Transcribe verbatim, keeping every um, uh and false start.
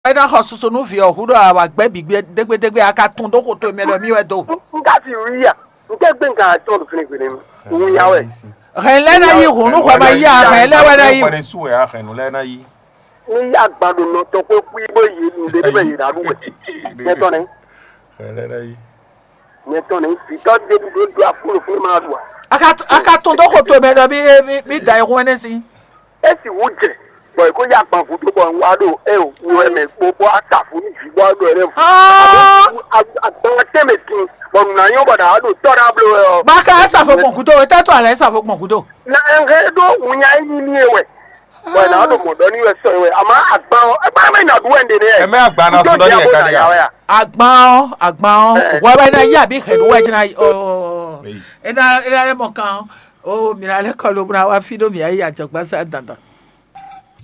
É ná xɔ susu nú vǐ ɔ́ hú ɖɔ a wǎ gbɛ́ bǐ gbé dégbédégbé, a ka tún dó xo towe mɛ ɖɔ mì wɛ do. N ka fi wí ya? N tɛ gbé nkan atɔn ɖo fínɛ́ gbéne mi. Wun ya wɛ. Hɛn lɛ́ɛ ná yí hǔn nú xɔ ma yí a, hɛn lɛ́ɛ wɛ ná yí. Hɛn su wɛ a hɛn nú lɛ́ɛ ná yí. Ní yí agban ɖo nɔ tɔn kpó kú bó yé nu ɖé bɛ yé ná ɖu wɛ. Nyɛ tɔn nɛ. Hɛn lɛ́ɛ ná yí. Nyɛ tɔn nɛ. Vǐtɔ ɖé ɖu ɖó ɖu afúnú fúnú ma ɖu a. A ka a ka tún dó xo towe mɛ ɖɔ mì mì da ayihún ɛnɛ sín. Esi wú jɛ bɔ è ko yá agban gúdo bɔ un wá ɖo eo wú wɛ mɛ kpó bɔ a ta fún ní jǐ bɔ a ɖo ɛnɛ. Agban tɛnmɛ tin bɔ nǔ ná nyɔ́ bɔ ɖa a ɖo tɔ́ ɖa bló wɛ ɔ. Baka esa fo gbɔn kudo, e tɛ to ala esa fo gbɔn kudo. Na ɛhɛ ɖo wúnya yi ní e wɛ bɔ ná ɖo mɔ ɖɔ ní wɛ sɔ wɛ àmọ́ agban ɔ ẹ bá mẹ nà bú wɛ ndé nɛ. Ẹ mẹ agban ná sún ɖɔ ní ẹ ká ní ya. Agban ɔ, agban ɔ, wɛ wɛ ná yí àbí hɛn wɛ jìnnà ɔ. Ena ena lɛ mɔ kan ɔ, mi na lɛ kɔ ló bó na wá fi ɖó mi ayé àjọgbá sá dandan.